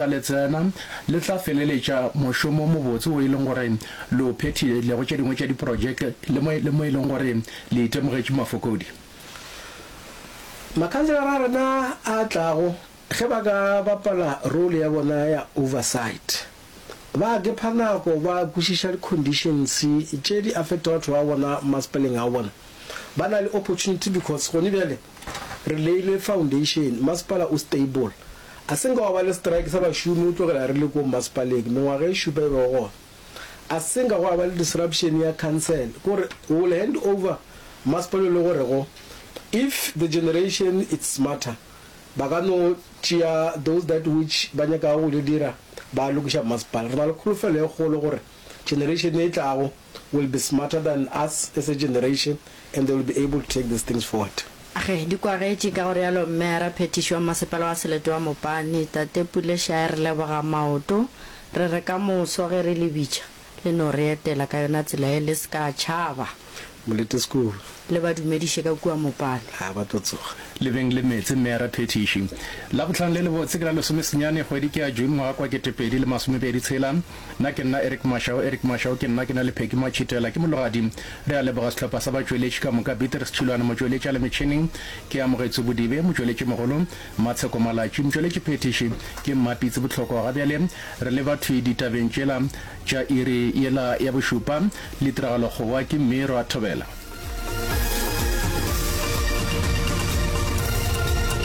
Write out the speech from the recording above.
Le tsena, le tla feleletša mošomo o mobotse wo e leng gore le o phethile le go tše dingwe tša diprojeke le mo, le mo e leng gore le itemogetše mafokodi. Makhanselara a rena a tlago, ge ba ka bapala role ya bona ya oversight, ba gepha nako ba kwešiša di-conditions tše di affectago batho ba bona masepaleng a bona, ba na le opportunity because gone bjale re leile foundation, masepala o stable. A se nka gwa ba le strike sa bašomi go tlogela re le ko mmasepaleng mengwaga e šupa e bego gona. A se nka gwa ba le disruption ya council, ke gore we will hand over mmasepala o le gorego if the generation it's smarter ba ka no tšea those that which ba nyakago go di dira ba lokiša mmasepala. Re na le kholofelo e kgolo gore generation e tlago will be smarter than us as a generation and they will be able to take these things forward. Ge di kwagetše ka go realo Mmeara Phethiši wa Masepala wa Selete wa Mopani, Tate Pule Shae re leboga maoto, re re ka moso ge re le bitša le no re etela ka yona tsela ye le se ka tšhaba. Molete School. Le ba dumediše ka kua Mopani. Ha ba tlo tsoga. Le beng le meetse Mmeara Phethiši. Labohlano le lebotse ke la lesomesenyane kgwedi ke ya June ngwaga kwa 2026. Nna ke nna Eric Mashau, Eric Mashau ke nna, ke na le Peggy Matšhitela, ke mologadi. Re a leboga sehlopha sa batšweletši ka moka, Beatrice Tšhilwane, motšweletši a le metšhineng, ke Amogetswe Bodibe, motšweletšimogolo, Matsheko Malatši, motšweletšiphethiši ke Mmapitsi Bohlokwa. Ga bjale re leba thwi ditabeng tšela tša iri yela ya bošupa le tiragalokgowa ke Mmirwa Thobela.